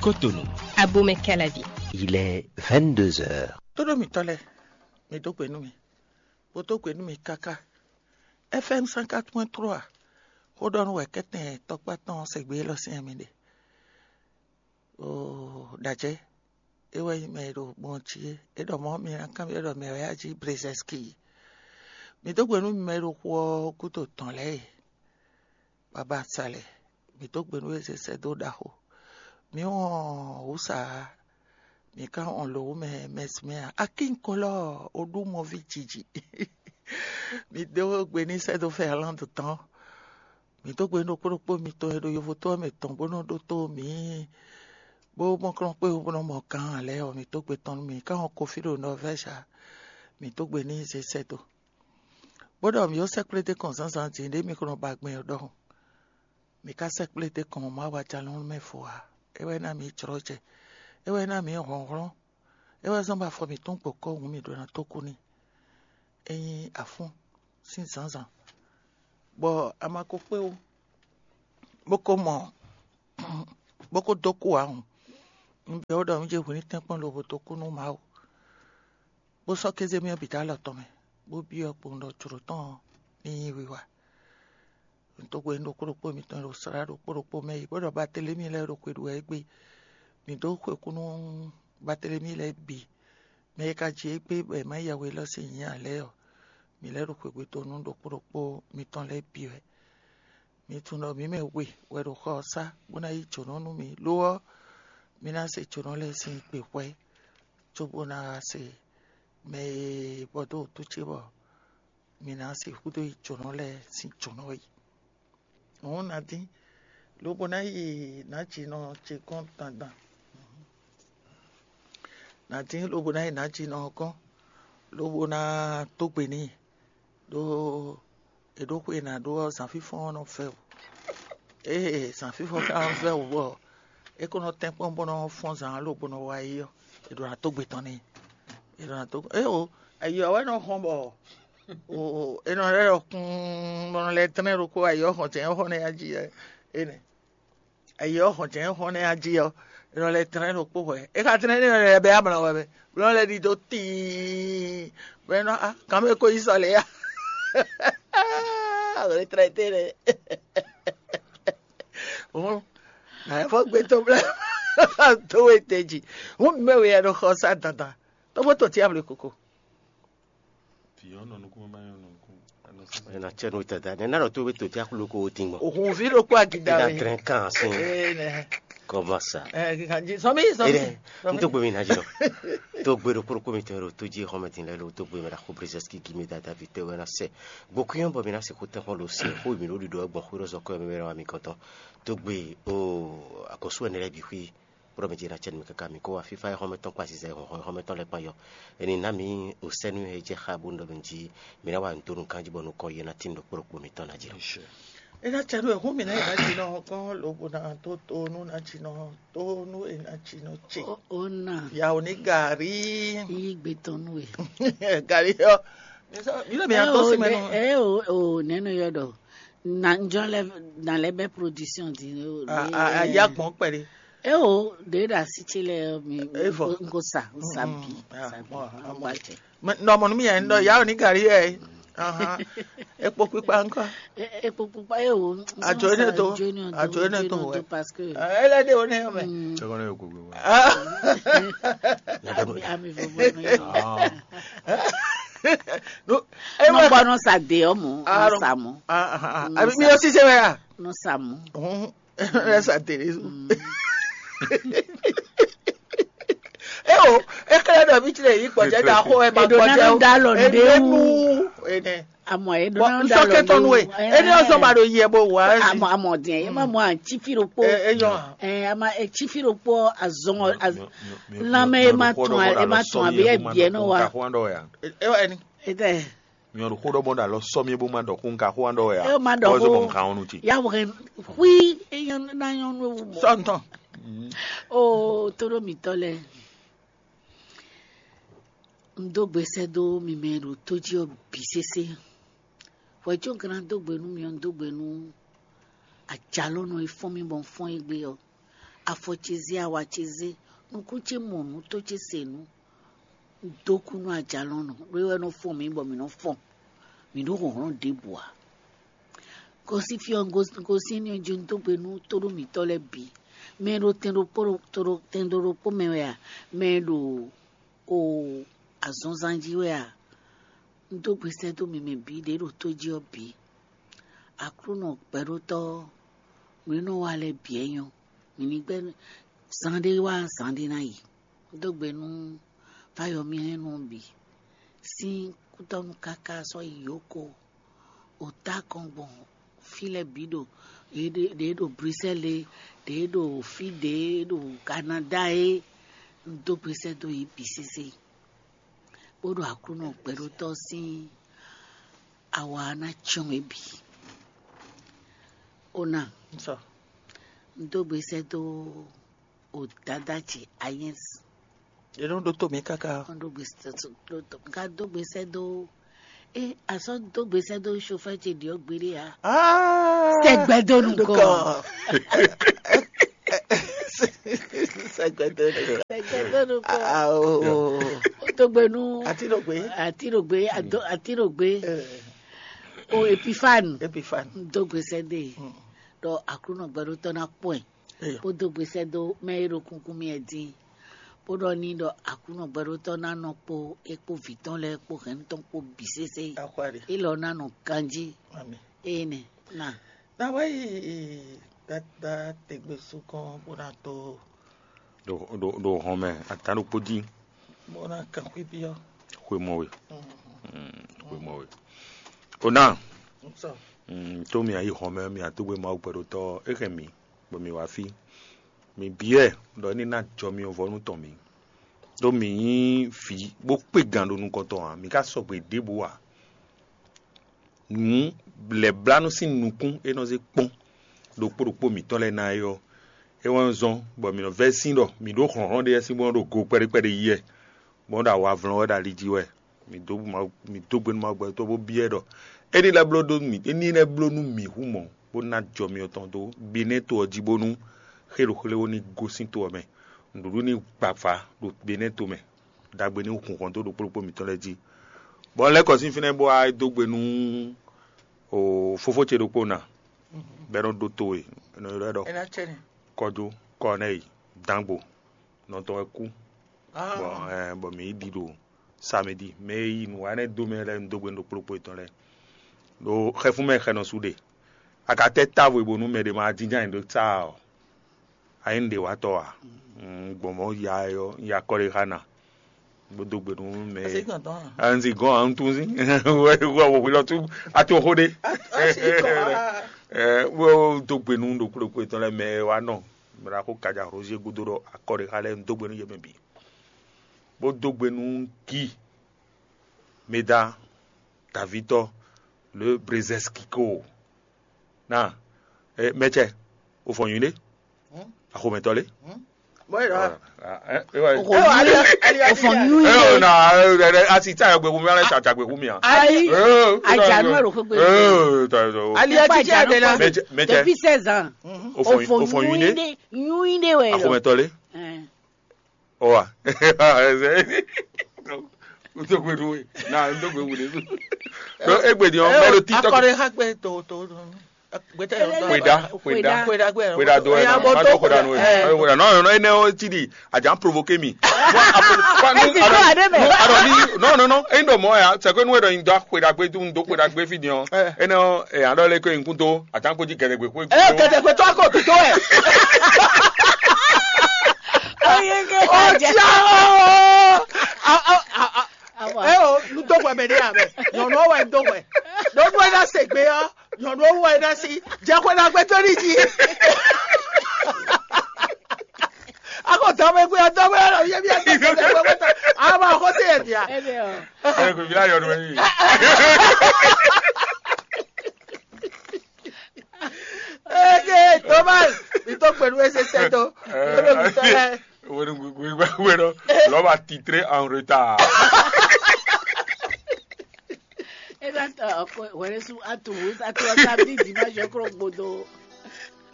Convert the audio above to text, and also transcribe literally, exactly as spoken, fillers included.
Cotonou. Abomey Calavi. Il est vingt-deux heures. Tóɖó mǐtɔn lɛ́ɛ, mi dó gbe nú mì, bó dó gbe nú mì káká. F M cent quatre point trois, xó ɖɔ nú wɛ kɛ́tɛn tɔkpá tɔn sɛgbé élɔ́ sín mi ɖe. Oo, ɖajɛ, é wɛ nyí mɛ e ɖo gbɔn jí é. É ɖɔ mɔ̌ mi ná kanbyɔ́ ɖɔ mɛ wɛ á jí Brezɛski. Mi dó gbe nú mi mɛ e ɖo xu ɔ́ gúdo tɔn lɛ́ɛ e. Baba Salɛ, mǐ dó gbe nú we zé sɛ́ dó ɖaxó. Mǐ wɔn wǔsa ǎ, mǐ ka wɔn lǒ mɛ mɛsmɛ ǎ. Akínkolɔ oɖúmɔví jiji. Mǐ dó gbe ní sɛ́ dó Fɛrlando tɔn. Mǐ dó gbe nú ɖokpó ɖokpó mitɔn e ɖo yovo tó ɔ́ mɛ tɔn bó nɔ ɖótó mǐ, bó mɔ kplɔ́n kpé bó nɔ mɔ gǎn ǎ lɛ́ɛ ɔ́, mǐ dó gbe tɔn nú mǐ. Mǐ ka wɔn Kofi ɖo Nɔvɛ́zi ǎ, mǐ dó gbe ní zé sɛ́ dó. Bó ɖɔ mǐ ó sɛ́kplé dó kɔn zǎnzǎn din ɖě mi ko nɔ ba gbɛn ɔ́ ɖɔhun. Mǐ ka sɛ́kplé dó kɔn Mawu ajalɔ́nmɛ fo ǎ. É wɛ ná mǐ jlɔ́ jɛ. É wɛ ná mǐ hlɔ̌nhlɔ́n. É wɛ zɔ́n bɔ afɔ mǐtɔn gbɔ̌ kɔ́ hǔn mǐ ɖó ná dó kú n'i. É nyí afún sín zǎnzǎn, bɔ a ma ko kpé ó, bó ko mɔ bó ko dó kú ǎ hǔn. Un byɔ́ we ɖɔ mǐ jɛ hwǐ ní tɛ́nkpɔ́n lobo dó kú nú Mawu, bó sɔ́ kéze myɔ bǐ dó alɔ tɔn mɛ, bó byɔ́ kpowun ɖɔ jlǒ tɔn ɔ́ ní nyí wiwa. Un dó gbe nú ɖokpó ɖokpó mitɔn e ɖo slá ɖokpó ɖokpó mɛ yi, bó ɖɔ Baatelemi lɛ́ɛ ɖo xwe ɖu wɛ égbé. Mǐ dó xwe kú nú Baatelemi lɛ́ɛ bǐ, mɛ e ka ji égbé bɔ è má ya we élɔ́ sín nyǐ ǎ lɛ́ɛ ɔ́, mǐ lɛ́ ɖo xwegbe dó nú ɖokpó ɖokpó mitɔn lɛ́ɛ bǐ wɛ. Mi tunwun ɖɔ mǐ mɛ we wɛ ɖo xɔ ɔ́ sá bó ná yí jǒnɔ nú mi; lo ɔ́, mi ná se jǒnɔ lɛ́ɛ sín gbe hwɛ́, cóbó ná se mɛ e bɔ dó wǔtu ce bɔ mi ná sixú dó yi jǒnɔ lɛ́ɛ sín jǒnɔ é. Hǔn nǎ dín, lobo ná yi nǎjinɔ ce gɔ́n dandan. Nǎ dín lobo ná yi nǎjinɔ ɔ́ gɔ́n, lobo ná dó gbe n'i, ɖó è ɖǒ xwe e nǎ ɖó ɔ́, zǎnfínfɔ́n ɔ́ nɔ vɛ́ wǔ. Ée zǎnfínfɔ́n ka nɔ vɛ́ wǔ bɔ é ko nɔ tɛ́nkpɔ́n bó nɔ́ fɔ́n zǎn ɔ́ lobo nɔ wá yi ɔ́, è ɖǒ ná dó gbe tɔn n'i. È ɖǒ ná dó é o, ayǐ ɔ́ wɛ nɔ hɔn bɔ è nɔ lɛ́ ɖɔ kún bɔ nɔ lɛ́ tlɛ́n ɖokpó ayǐ ɔ́ hɔn jɛ̌n xɔ nɛ́ jí énɛ́. Ayǐ ɔ́ hɔn jɛ̌n xɔ nɛ́ jí ɔ́, è nɔ lɛ́ tlɛ́n ɖokpó hwɛ. É ka tlɛ́n ɖé nɔ lɛ́ bɛ amlɔ wɛ mɛ, bɔ nɔ lɛ́ ɖidó tíin, bɔ é nɔ á kan mɛ ko yi sɔ lě ya. Wǒ tlɛ́n té nɛ́. Hǔn nǎ fɔ gbe tɔn blɛ́ dó we te jí. Hǔn mǐ mɛ we ya ɖo xɔ sá dandan. Tɔ́gbó tɔn cí amlɔ koko. Vǐ ɔ́ nɔ nukún má nyɔ́ nɔ nukún. Ena cɛ no tata ne na ɖɔ to be to ti akulu ko o tin gbɔn. Òhun vi ɖokpó agida Ena we. Trɛn kan sin Ee nɛ. Kɔma sa. Ɛ kanji sɔmi sɔmi. Ere n tó gbe mi na jɔ. Tó gbe ɖo kpóɖokpó mi tɛn ɖo tó jí xɔmɛ tin lɛ lo tó gbe mi ɖa xó brezɛski gi mi dada vi tɛ wɛ na sɛ. Gbɔkúnyɔ bɔ mi na se kó tɛn xɔ lo se xó mi ɖo ɖiɖɔ gbɔn xó ɖo zɔkɔ mi wɛ wa mi gɔntɔ. Tó gbe o akɔsu ɛnɛ lɛ bi xui. Kpɔɖɔ mi jɛ na cɛ mi kaka mi kó wa fífa xɔmɛ tɔn kpa zizɛ xɔmɛ tɔn lɛ kpan yɔ. Eni na mi o sɛnu e jɛ xa bo ndɔ mi ji mi na wa ntonu kanji bɔ nukɔn ye na tin ɖo kpóɖokpó mi tɔn na jɛ. Ena cɛ ɖo ehun mi na yi na dzi nɔ kɔn lobo na to to nu na dzi nɔ to nu e na dzi nɔ tse. O na Yawo ni gari. Yi gbe tɔn nu e. Gari yɔ. Mi lɛ mi ya dɔ si mɛ nɔ. Ɛ o o nɛnu yɔ dɔ. Na njɔ lɛ na lɛ bɛ production di. A ya gbɔn kpɛɖe. Ɛ o de da si tse lɛ mi. Evɔ. Nko sa sa bi Ah, sa bi. bon, ah, bon. Awa jɛ. Nɔmɔ nu mi yɛ ndɔ yawo ni gari yɛ. Ahan. Ekpo kpikpa nkɔ. Ekpo pupa ye o. Adzo ene to. Adzo ene to wɛ. Ele de o ne yɔ mɛ. Tɔgɔ ne yɔ gbogbo wa. Ami vovo no ye. Ah, No. Nɔ gbɔ nɔ sa de ɔmɔ. Nɔ sa mɔ. Abi mi yɔ sise wɛ ya. Nɔ sa mɔ. Ɛ sa tere su. E o, e kɛlɛ dɔ mi tile yi kpɔjɛ da xo ɛ ma Eɖo kpɔjɛ nana o. da lɔ Ene nɖe nu. wu. Ene. Amɔ eɖo Bɔn nana da nsɔkɛ lɔ tɔnu e. nɖe wu. Ene ɔsɔ ma ɖo yɛ bo wa. Amɔ amɔ diɛ ye ma mɔ atsi fi ɖokpo. E yɔ. Ɛ ama etsi fi ɖokpo azɔn az- lanmɛ ye ma tɔn ye ma tɔn abe ebiɛ nɔ wa. E wa eni. Etɛ mi ɔdu xó ɖɔ bɔ da lɔ sɔ mi bó ma dɔ kó nka xó an dɔ ya. E ma dɔ xó. Bɔn xan ɔnu ti. Ya wɔ hui eyan na yɔn nu ewu mɔ. Sɔntɔn. O to ɖo mitɔ lɛ. N dó gbe sɛ́ dó mi mɛ ɖo tó jí ɔ́ bǐ sésé. Hwɛ̌ có un ka ná dó gbe nú mi ɔ́, un dó gbe nú ajalónɔ e fɔ́n mì bɔ un fɔ́n égbé ɔ́. Afɔ ce zé, awa ce zé, nukún ce mɔ nǔ, tó ce se nǔ. Un dó kú nú ajalɔ̌nɔ, ɖó é wɛ nɔ fɔ́n mǐ bɔ mǐ nɔ fɔ́n. Mǐ ɖó hlɔ̌nhlɔ́n ɖěbǔ ǎ. Gosín fí ɔ́, un gosín ní ɔ́ jí un dó gbe nú tóɖó mǐtɔn lɛ́ɛ bǐ. Mɛ e ɖo tɛn ɖokpó ɖo to ɖo tɛn ɖo ɖokpó mɛ wɛ a? Mɛ e ɖo o azɔnzán jí wɛ a? Un dó gbe sɛ́ dó mi mɛ bǐ ɖě ɖo tó jí ɔ́ bǐ. Aklúnɔ gbɛɖótɔ́ ɔ́, nǔ e nɔ wa lɛ́ɛ bǐ wɛ nyɔ́. Mǐ ní gbɛ́ zaanɖé wá zaanɖé ná yi. Un dó gbe nú fáyɔmilɛ́nu ɔ́ bǐ sín kútɔ́nú káká sɔ́ yi yǒko. O tá kɔn gbɔn fí lɛ́ɛ bǐ ɖo ɖě ɖo Brisɛ́li é, ɖě ɖo fí ɖě ɖo Kanadá é, un dó gbe sɛ́ dó yě bǐ sésé, bó ɖo Aklúnɔ gbɛɖótɔ́ sín awa ná cyɔ́n yě bǐ. Ó ná, un dó gbe sɛ́ dó o Dadá ce Ayɛ́ns. È nɔ ɖótó mǐ káká. Wọ́n ɖó gbèsè tó tó tó ká dó gbèsè dó. É asɔ dó gbèsè dó chauffeur ce ɖiɔ gbélé ya. Ah, sɛgbɛ dó nukɔ. Sɛgbɛ dó nukɔ. Sɛgbɛ dó nukɔ. Ah, oh. Ó tó gbé nú. Àti ɖo gbé. Àti ɖo gbé. Àti ɖo gbé. O Epifane. Epifane. Dó gbèsè dé. Ɖɔ Aklúnɔ gbɛɖótɔ́ ná kpɔ́n ɛ. Bó dó gbesɛ dó mɛ e ɖo kunkun mì wɛ din, bó ɖɔ n'i ɖɔ Aklúnɔ gbɛɖótɔ́ ná nɔ kpó é kpó vǐ tɔn lɛ́ɛ kpó hɛn tɔn kpó bǐ sésé. Élɔ́ ná nɔ ganjí. Énɛ́ ná. Ná wá yi gbadá tɛgbɛ sukɔn bó ná tó. Ɖo hɔn mɛ, atán ɖokpó dín. Bó ná kan xwé byɔ́. Xwe mɔ we. Xwe mɔ we. O ná. Tó mi ayǐ hɔn mɛ, mi atógbé Mawu gbɛɖótɔ́ é hɛn mi. Bɔ mǐ wá fí. Mǐ byɔ́ ɛ ɖɔ é ní ná jɔ myɔvɔ́nu tɔn mǐ, ɖó mǐ nyí vǐ bó kpé gan ɖo nukɔn tɔn ǎ; mǐ ka sɔgbe ɖěbǔ ǎ. Nǔ lɛ̌blánú sín nukún e nɔ zé kpɔ́n ɖokpó ɖokpó mǐtɔn lɛ́ɛ ná é ɔ́, é wɛ nɔ zɔ́n bɔ mǐ nɔ vɛ́ sín ɖɔ mǐ ɖó hlɔ̌nhlɔ́n ɖé lɛ́ɛ sín bó nɔ́ ɖo go kpɛɖé kpɛɖé yí wɛ, bɔ nɔ́ ɖo awa vlɔ́n wɛ ɖo ali jí wɛ. Mǐ dó Mawu, mǐ dó gbe nú Mawu gbɛtɔ́ bó byɔ́ ɛ ɖɔ é ní lɛ́ bló ɖó mǐ, é ní lɛ́ bló nú mǐ hú mɔ̌, bó ná jɔ myɔ tɔn dó Benɛ́to ɔ́ jí bónú xé ɖo xlé ó ní gosín to ɔ́ mɛ. Nǔɖuɖu ní gba vǎ ɖo Benɛ́to mɛ, ɖagbe ní hun hɔn dó ɖokpó ɖokpó mǐtɔn lɛ́ɛ jí. Bɔ un lɛ́ kɔ sín fínɛ́ bó wá dó gbe nú o fófó ce ɖokpó ná, bɔ é nɔ ɖótó we, è nɔ ylɔ́ ɛ ɖɔ Kɔjó Kɔnɛ́yi Dangbo, nɔ tɔn wɛ kú. Bɔ ɛ bɔ mǐ yi ɖi ɖo samedi, mɛ e yi nǔ wa énɛ́ dó mɛ lɛ́ɛ un dó gbe nú ɖokpó ɖokpó yětɔn lɛ́ɛ. Ɖo xɛfún mɛ xɛ nɔ su ɖe. A ka tɛ́ távo e bónú mɛ ɖé ma jínjɔ́n ayǐ ɖó tsa ɔ́, a nyí nǔɖéwatɔ́ ǎ. Un gbɔn mɔ̌ ya ɛ ɔ́, un ya akɔ ɖé xá ná, bó dó gbe nú mɛ e. Un si gɔ́n ǎ, un tunwun sín wɛ wɛ wɔ hwilɔ tú atoxo ɖé. Bó dó gbe nú ɖokpó ɖokpó yětɔn lɛ́ɛ mɛ e wá nɔ mɛ ɖaxó Kaja Roger gúdo ɖɔ akɔ ɖé xá lɛ́ɛ un dó gbe nú yě mɛ bǐ. Bó dó gbe nú Guy Meda Davitɔ le Brezeskiko. Na, eh, mɛtsɛ, o fɔ nyuɖé? Axomɛtɔ lé? Bɔyɔ. O fɔ nyuɖé. Eh, na, eh, eh, asi tsa yɔ gbɛku mi alɛ tsa tsa gbɛku mi a. Ayi. Ajanu ero xogbe. Eh, ta ta. Ali ati tsa de la. Mɛtsɛ, mɛtsɛ. Depuis seize ans. O fɔ, o fɔ nyuɖé? Nyuɖé wɛ. Axomɛtɔ lé? Ɔ wa. Ntogbe ɖu we na ntogbe wu ɖe. Egbe di ɔn mɛ ɖo TikTok. Akɔrɔ ha gbe to to. Kweda, kweda, kweda do ɛ na ma do kweda nu ɛ ma do kweda nɔ nɔ enɛ o ti di a jan provoke mi. Alɔ ni nɔ nɔ nɔ eyin dɔ mɔ ya sɛ ko nu ɛ dɔ yin dɔ kweda gbe dun do kweda gbe fi di ɔn enɛ o ɛ alɔ le ko yin kun do a jan ko ji gɛdɛgbe ko. Ɛ gɛdɛgbe tɔ ko tuto ɛ. Oyenge Ọjà o. Ẹ o, nu dó hwɛ mɛ ɖé amɛ. Nyɔnu ɔ́ wɛ un dó hwɛ. Ɖó nú ɛ ná se gbe ɔ́, nyɔnu ɔ́ wú ɛ ná sí. Jɛ hwɛ ná gbɛtɔ́ ní jí. Akɔ dɔmɛ gbé ɔ́ dɔmɛ ɔ́ yɛ bí ɛ tɛ tɛ tɛ tɛ tɛ. Ama xɔ se yɛ dia. Ẹ kò fi láyọ̀ ọdún yìí. Eke Thomas, mi tó pẹ̀lú ẹsẹ̀ sẹ́dọ̀. Lọ́dọ̀ mi tọ́ ẹ. Wẹ́n wẹ́n wẹ́n lọ́ba titré en retard. Ẹ bá tọ ọkọ wẹrẹ sún àtúwò àtúwò sábìlì dìbò àjọkúrò gbọdọ.